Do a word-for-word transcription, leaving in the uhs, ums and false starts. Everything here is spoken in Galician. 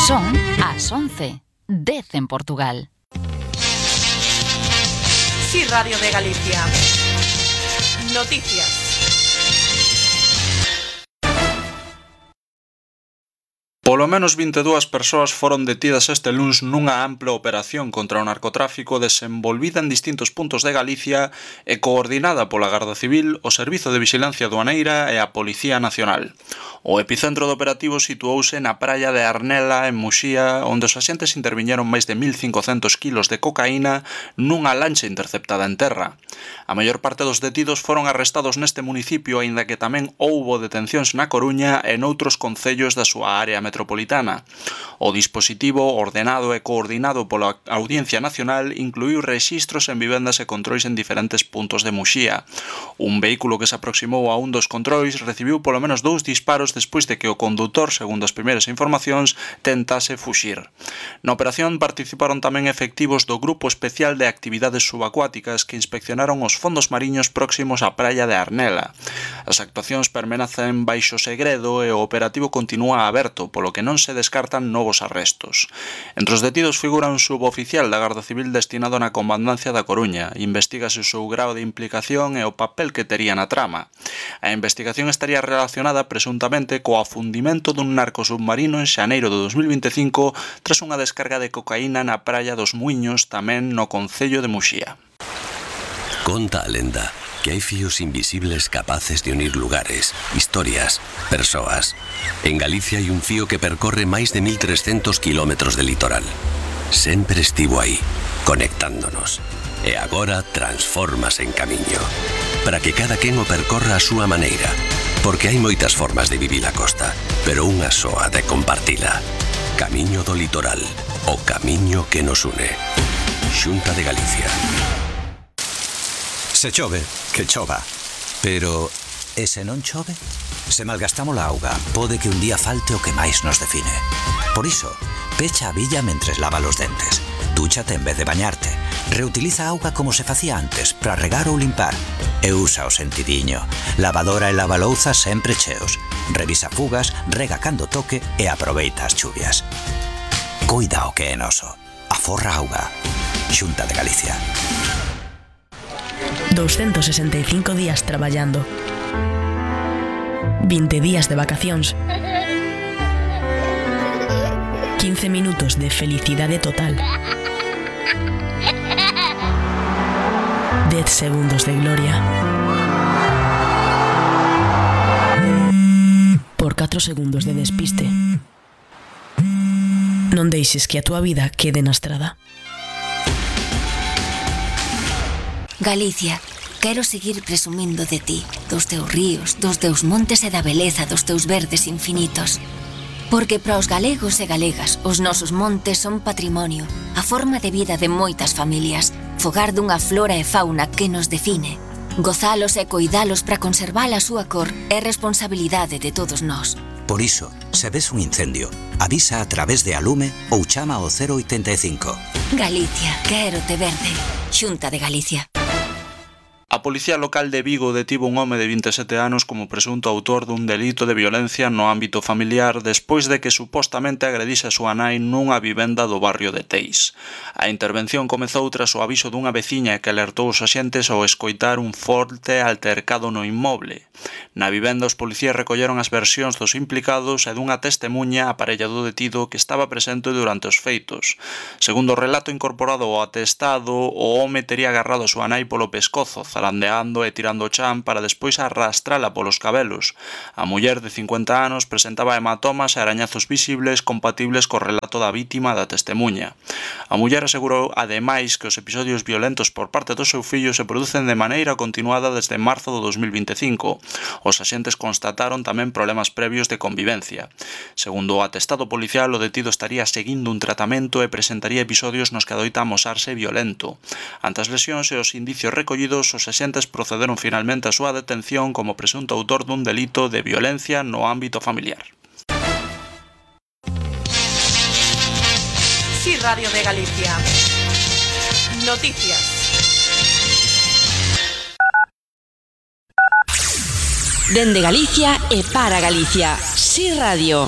Son as once, dez en Portugal. Sí, Radio de Galicia. Noticias. Polo menos vinte e dúas persoas foron detidas este luns nunha ampla operación contra o narcotráfico desenvolvida en distintos puntos de Galicia e coordinada pola Garda Civil, o Servizo de Vixilancia Aduaneira e a Policía Nacional. O epicentro do operativo situouse na praia de Arnela, en Muxía, onde os axentes interviñeron máis de mil cincocentos kilos de cocaína nunha lancha interceptada en terra. A maior parte dos detidos foron arrestados neste municipio, aínda que tamén houbo detencións na Coruña e noutros concellos da súa área metropolitana. O dispositivo, ordenado e coordinado pola Audiencia Nacional, incluíu rexistros en vivendas e controis en diferentes puntos de Muxía. Un vehículo que se aproximou a un dos controis recibiu polo menos dous disparos despois de que o condutor, segundo as primeiras informacións, tentase fuxir. Na operación participaron tamén efectivos do Grupo Especial de Actividades Subacuáticas que inspeccionaron os fondos mariños próximos á praia de Arnela. As actuacións permanecen baixo segredo e o operativo continúa aberto, polo que non se descartan novos arrestos. Entre os detidos figura un suboficial da Garda Civil destinado na Comandancia da Coruña. Investígase o seu grao de implicación e o papel que tería na trama. A investigación estaría relacionada presuntamente co afundimento dun narcosubmarino en xaneiro de dos mil vinte e cinco tras unha descarga de cocaína na praia dos Muiños, tamén no concello de Muxía. Conta a lenda que hai fíos invisibles capaces de unir lugares, historias, persoas. En Galicia hai un fío que percorre máis de mil trescentos kilómetros de litoral. Sempre estivo aí, conectándonos. E agora transformas en camiño, para que cada quen o percorra a súa maneira, porque hai moitas formas de vivir a costa, pero unha soa de compartila. Camiño do litoral, o camiño que nos une. Xunta de Galicia. Se chove, que chova. Pero, e se non chove? Se malgastamos a auga, pode que un día falte o que máis nos define. Por iso, pecha a billa mentres lava os dentes. Dúchate en vez de bañarte. Reutiliza a auga como se facía antes, para regar ou limpar. E usa o sentidiño. Lavadora e lavalouzas sempre cheos. Revisa fugas, rega cando toque e aproveita as chuvias. Cuida o que é noso. Aforra auga. Xunta de Galicia. doscientos sesenta y cinco días traballando. veinte días de vacacións. quince minutos de felicidade total. diez segundos de gloria. Por catro segundos de despiste. Non deixes que a túa vida quede na estrada. Galicia, quero seguir presumindo de ti, dos teus ríos, dos teus montes e da beleza dos teus verdes infinitos. Porque para os galegos e galegas, os nosos montes son patrimonio, a forma de vida de moitas familias, fogar dunha flora e fauna que nos define. Gozalos e coidalos para conservar a súa cor é responsabilidade de todos nós. Por iso, se ves un incendio, avisa a través de Alume ou chama ao cero oitenta e cinco. Galicia, quero te verde. Xunta de Galicia. A Policía Local de Vigo detivo un home de vinte e sete anos como presunto autor dun delito de violencia no ámbito familiar despois de que supostamente agredise a súa nai nunha vivenda do barrio de Teis. A intervención comezou tras o aviso dunha veciña que alertou os axentes ao escoitar un forte altercado no inmoble. Na vivenda os policías recolleron as versións dos implicados e dunha testemuña a parella do detido que estaba presente durante os feitos. Segundo o relato incorporado ao atestado, o home tería agarrado a súa nai polo pescozo, zarandeando e tirando o chan para despois arrastrala polos cabelos. A muller de cincuenta anos presentaba hematomas e arañazos visibles compatibles co relato da vítima da testemuña. A muller asegurou ademais que os episodios violentos por parte do seu fillo se producen de maneira continuada desde marzo do dos mil vinte e cinco. Os axentes constataron tamén problemas previos de convivencia. Segundo o atestado policial, o detido estaría seguindo un tratamento e presentaría episodios nos que adoita amosarse violento. Ante as lesións e os indicios recollidos, os axentes procederon finalmente a súa detención como presunto autor dun delito de violencia no ámbito familiar. Sí, Radio de Galicia. Noticias. Dende Galicia e para Galicia. Sí Radio.